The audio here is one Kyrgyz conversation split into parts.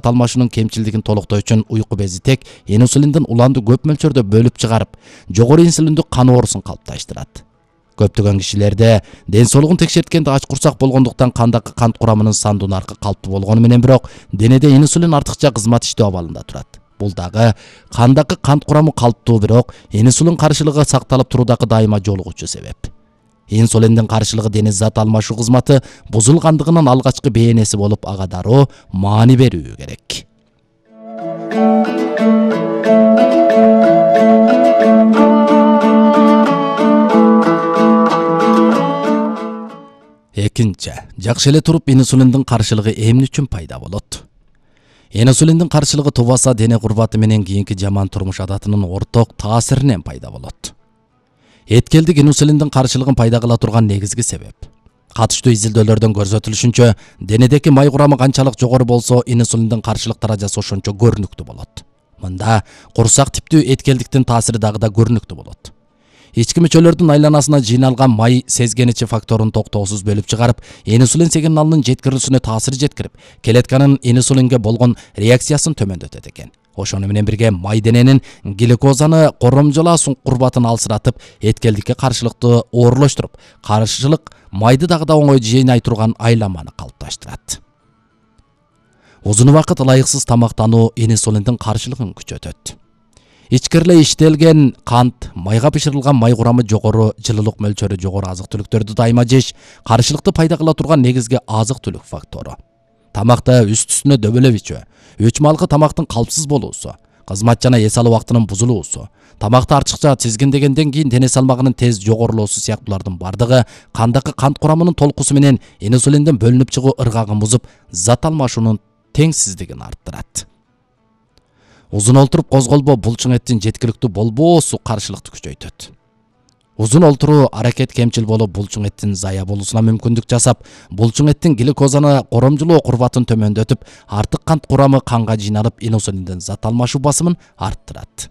алмашуунун кемчилдигин толуктоо үчүн уйку бези тек инсулиндин уланды көп мөлчөрдө бөлүп чыгарып, жогору инсулиндүү кан оорусун калыпташтырат. Көптөгөн кишилерде ден соолугун текшерткенде ач курсак болгондуктан кандагы кант курамынын сандуу наркы калыптуу болгону менен бирок денеде инсулин артыкча кызмат иштөө абалында турат. Бул дагы кандагы кант курамы калыптуу бирок инсулин каршылыгы сакталып туруудагы дайыма жолугуучу себеп. Инсулиндин каршылыгы дени зат алмашуу кызматы бузулгандыгынын алгачкы бээнеси болуп, ага дароо маани берүү керек. Экинчи, жакшы эле туруп инсулиндин каршылыгы эмне үчүн пайда болот? Инсулиндин каршылыгы тубаса дене курбаты менен кийинки жаман турмуш адатынын орток таасиринен пайда болот. Эткелдик инсулиндин каршылыгын пайда кыла турган негизги себеп. Катыштуу изилдөөлөрдөн көрсөтүлүшүнчө, денедеки май курамы канчалык жогору болсо, инсулиндин каршылык даражасы ошончо көрүнүктүү болот. Мында курсак типтүү эткелдиктин таасири дагы да көрүнүктүү болот. Ички мүчөлөрдүн айланасына жыйналган май сезгеничи факторун токтоосуз бөлүп чыгарып, инсулин сигналынын жеткирилүүсүнө таасир жеткирип, клетканын инсулинге болгон реакциясын төмөндөтөт экен. Ошону менен бирге май дененин глюкозаны коромжолоо курбатын алсыратып, эткелдикке каршылыкты оорлоштуруп, каршылык майды дагы да оңой жыйнай турган айламаны калыпташтырат. Узун убакыт ылайыксыз тамактануу инсулиндин каршылыгын күчөтөт. Ичкирле иштелген кант, майга бышырылган май курамы жогору, жылуулук мөлчөрү жогору азык-түлүктөрдү дайыма жеш каршылыкты пайда кыла турган негизги азык-түлүк фактору. Тамакта үст-үстүнө дөбөлөп ичүү, 3 малгы тамактын калпсыз болуусу, кызмат жана эс алуу убактынын бузулуусу, тамакты артыкча тизгиндегенден кийин дене салмагынын тез жогорулоосу сыяктуулардын бардыгы кандагы кант курамынын толкусу менен инсулиндин бөлүнүп чыгуу ыргагын бузуп, зат алмашуунун теңсиздигин арттырат. Узун олтуруп козголбоо булчуң эттин жеткиликтүү болбоосу каршылыкты күчөйтөт. Узун олтуруу аракет кемчил болуп, булчуң эттин зая болуусуна мүмкүндүк жасап, булчуң эттин глюкозаны коромжолоо курбатын төмөндөтүп, артык кант курамы канга жыйналып, инсулиндин зат алмашуу басымын арттырат.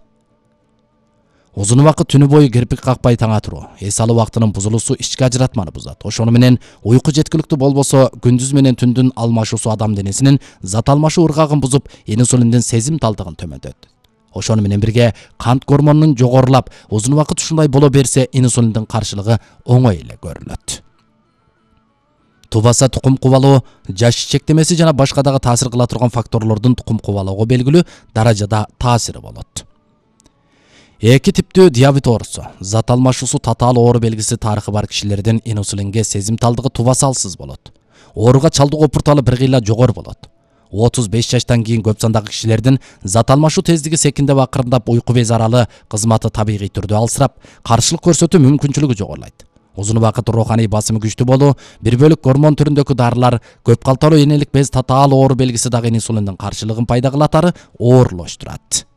Узун убакыт түнү бою кирпик какпай таңа туруу, эс алуу убактынын бузулуусу ички ажыратманы бузат. Ошону менен уйку жеткиликтүү болбосо, күндүз менен түндүн алмашуусу адам денесинин зат алмашуу ыргагын бузуп, инсулиндин сезимталдыгын төмөндөтөт. Ошону менен бирге кант гормонунун жогорулап, узун убакыт ушундай боло берсе, инсулиндин каршылыгы оңой эле көрүнөт. Тубаса тукум кубалоо, жаш чектемеси жана башка дагы таасир кыла турган факторлордун тукум кубалоого белгилүү даражада таасири болот. Эки типтүү диабет оорусу, зат алмашуусу татаал оору белгиси тарыхы бар кишилердин инсулинге сезимталдыгы тубасалсыз болот. Ооруга чалдыгуу пурталы бир кыйла жогору болот. 35 жаштан кийин көп сандагы кишилердин зат алмашуу тездиги секиндеп акырындап, уйку бези аралы кызматы табигый түрдө алсырап, каршылык көрсөтүү мүмкүнчүлүгү жогорулайт. Узун убакыт руханий басымы күчтүү болуу, бир бөлүк гормон түрүндөгү дарылар, көп калталуу энелик без татаал оору белгиси дагы инсулиндин каршылыгын пайда кылатары оорлоштурат.